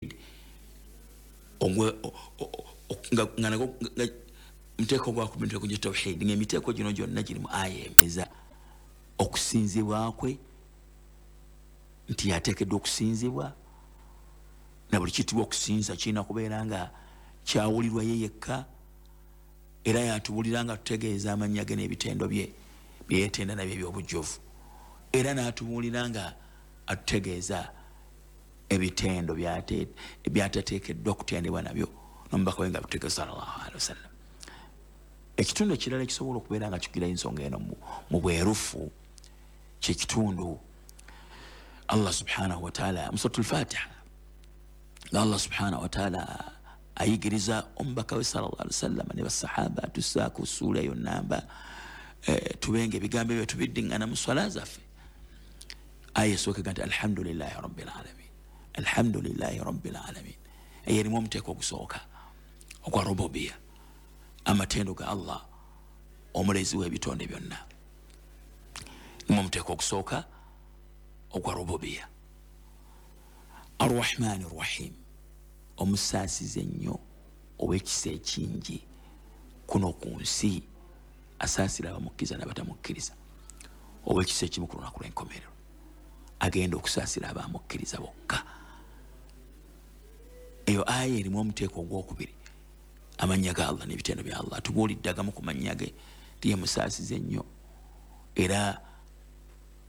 Nga muteeko gwakubiri, miteeko gya tawhidi, nga emiteeko gino gyonna giri mu aya eza okusinzibwa kwe, nti yateekeddwa okusinzibwa, na buli kitibwa okusinza kirina kubeera nga kyawulirwa ye yekka. Era yatubulira nga tutegeeza amannya ge n'ebitendo bye byeyetenda nabyo ebyobujjuvu, era n'atubuulira nga atutegeeza ebitendo byatateekeddwa kutendebwa nabyo, nomubaka we nga bitutegeeza sallallahu alaihi wasallam. Ekitundu ekirala ekisobola okubeera nga kikugira ensonga eno mu bwerufu kyekitundu Allah subhanahu wataala mu Suratu Lfatiha, nga Allah subhanahu wataala ayigiriza omubaka we sallallahu alaihi wasallam ne basahaba, atusaako suula eyo namba, tubenga ebigambo ebyo tubiddiŋŋana mu swala zaffe. Aya esooka nti alhamdulillahi rabbil alamin, alhamdulillahi rabbil alamin. Eyo erimu omuteeko ogusooka ogwa rububiya, amatendo ga Allah omulezi w'ebitonde byonna. Nimu omuteeko ogusooka ogwa rububiya. Arrahmani rrahim, omusaasiza ennyo, ow'ekisa ekingi kuno ku nsi, asaasira abamukkiriza n'abatamukkiriza, ow'ekisa ekimu ku lunaku lw'enkomerero agenda okusaasira abamukkiriza bokka. Eyo aya erimu omuteeko ogwokubiri, amannya ga Allah n'ebitendo bya Allah. Tubuulidde agamu ku mannya ge, tiye musaasiza ennyo era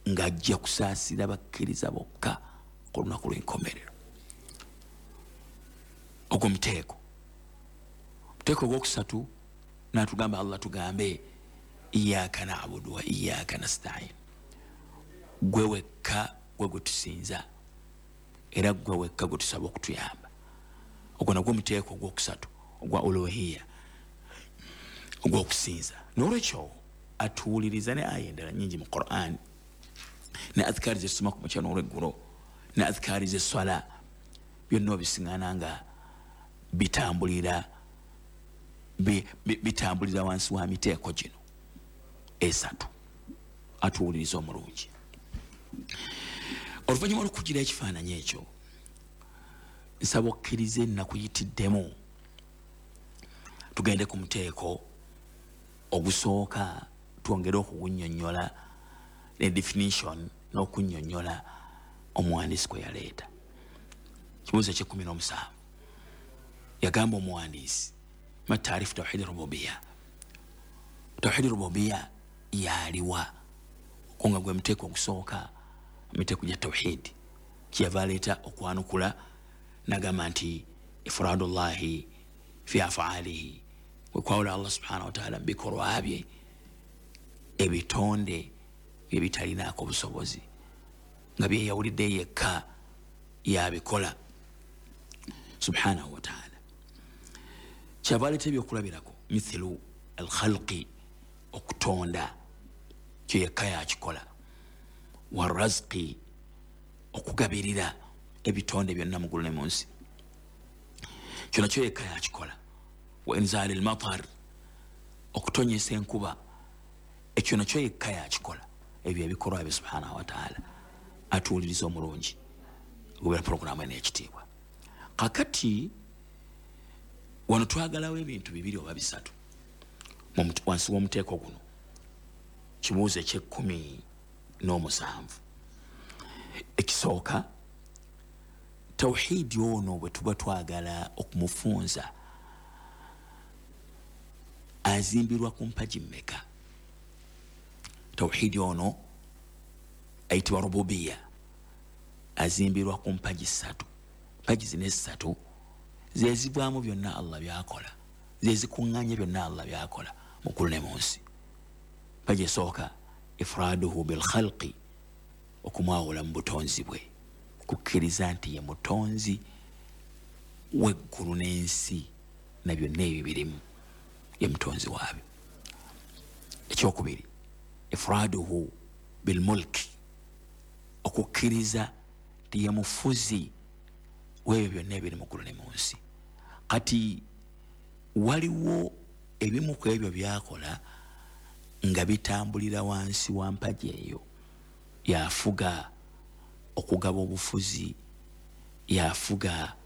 ng'ajja kusaasira bakkiriza bokka ku lunaku lw'enkomerero. Ogwo muteeko ogwokusatu, natugamba Allah tugambe iyaka nabudu wa iyaka nastain, gwe wekka gwe gwe tusinza era gwe wekka gwe tusaba okutuyamba. Ogwo nagwo muteeko ogwokusatu ogwa uluhiya, ogwokusinza. Nolwekyo atuwuliriza ne aya endala nyingi mu Quran, ne adhikaari zesoma ku makya n'olweggulo, ne adhikaari zeswala, byonna obisiŋana nga bitambulira wansi wa miteeko gino esatu. Atuwuliriza omulungi, oluvannyuma lwokugira ekifaananyi ekyo, nsaba okkirize nakuyitiddemu tugende ku muteeko ogusooka, twongere okugunnyonnyola ne definition n'okunnyonnyola omuwandiisi kwe yaleeta. Kibuuzo ekyekumi n'omusanvu, yagamba omuwandiisi ma taarifu tawhidi rububiya, tawhidi rububiya yaliwa? Kunga gwe muteeko ogusooka miteeko gya tawhidi. Kyeyava aleeta okwanukula nagamba nti ifradullahi fi afaalihi, kwekwawula Allah subhanahu wataala mubikolwa bye, ebitonde byebitalinaako busobozi nga byeyawulidde yekka yabikola subhanahu wataala. Kyava aleeta ebyokulabirako, mithilu alkhalqi, okutonda, kyo yekka yakikola, warazqi, okugabirira ebitonde byonna mugulu ne munsi, kyo nakyo yekka yakikola, wa inzali lmatar, okutonyesa enkuba, ekyo nakyo yekka yakikola. Ebyo ebikolwa bye subhanahu wataala. Atuwuliriza omulungi ogubera puroguramu eno ekitiibwa, kakati wano twagalawo ebintu bibiri oba bisatu wansi w'omuteeko guno. Kibuuzo ekyekumi n'omusanvu ekisooka, tawhidi ono bwe tuba twagala okumufunza, azimbirwa ku mpagi mmeka? Tawhidi ono ayitibwa rububiya azimbirwa ku mpagi ssatu. Mpagi zino esatu zezivaamu byonna Allah byakola, zezikuŋŋanya byonna Allah byakola mukulu ne munsi. Mpagi esooka, ifraduhu bilkhalqi, okumwawula mu butonzi bwe, kukkiriza nti ye mutonzi w'eggulu n'ensi na byonna ebyo birimu, ye mutonzi waabyo. Ekyokubiri, ifraduhu bilmulki, okukkiriza nti ye mufuzi w'ebyo byonna ebiri mu ggulu ne mu nsi. Kati waliwo ebimu ku ebyo byakola nga bitambulira wansi wa mpagi eyo. Yafuga okugaba obufuzi, yafuga.